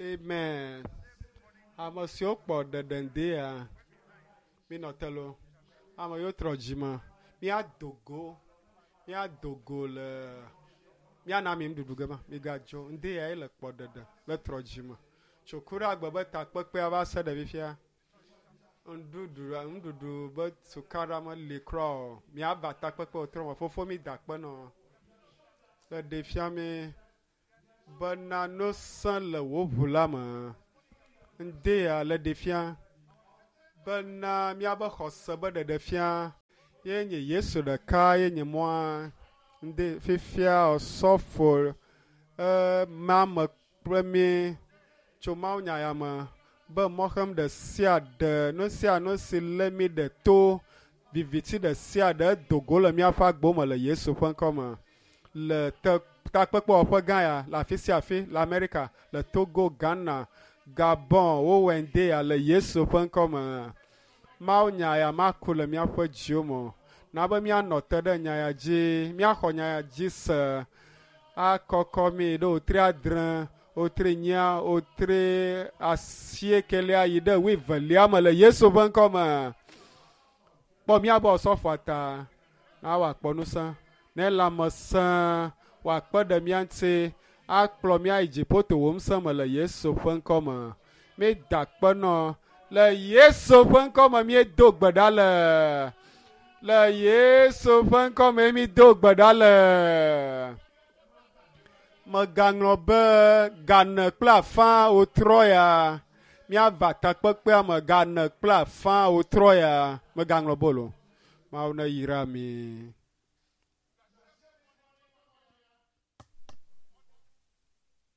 Amen. Ame siwo kpɔ ɖeɖe ŋdea, minɔ te lo. Ame yiwo trɔ dzime, míado go, míado go le míana mi nuɖuɖu ge ma. Migadzo ŋdea ye le kpɔ ɖeɖe le trɔ dzime. Tso ku ɖe agbe be takpekpea va se ɖe fifia. Nuɖuɖu nuɖuɖu be sukaɖa meli kura o. Míava takpekpe wòtrɔ me. Fofo mi da akpe nɔ. Le ɖe fia mi bena nusẽ le wò ʋu la me. Ŋdea le ɖe fia bena míabe xɔse be ɖeɖe fia ye nye Yesu ɖeka ye nye mɔa. Ŋde fifia osɔfo mame kple mi tso mawunya ya me be mɔxem ɖe sia ɖe nu sia nu si lé mi ɖe to viviti ɖe sia ɖe edo go le míaƒe agbo me le Yesu ƒe ŋkɔ me. Le te takpekpewɔƒe gã ya le afi sia afi le Amerika, le Togo, Ghana, Gabon, wowɔe ŋdea le Yesu ƒe ŋkɔ me. Mawunya ya maku le míaƒe dziwo me o. Na be míanɔ te ɖe nya ya dzi, míaxɔ nya ya dzi se akɔkɔ mi ɖe wòtri adre, wòtri nyia, wòtri asiekelia yi ɖe wuievelia me le Yesu ƒe ŋkɔ me. Kpɔ míabe osɔfoa ta na wòakpɔ ŋusẽ, ne lãmesẽ wòakpe ɖe mía ŋuti akplɔ mía yi dziƒo to wò ŋusẽ me le Yesu ƒe ŋkɔ me. Míeda akpe nɔ le Yesu ƒe ŋkɔ me míedo gbe ɖa le. Le Yesu ƒe ŋkɔ me mído gbe ɖa le. Mègaŋlɔ be gane kple afã wòtrɔ ya. Míava takpekpea me gane kple afã wòtrɔ ya. Mègaŋlɔ be o. Mawu neyra mi.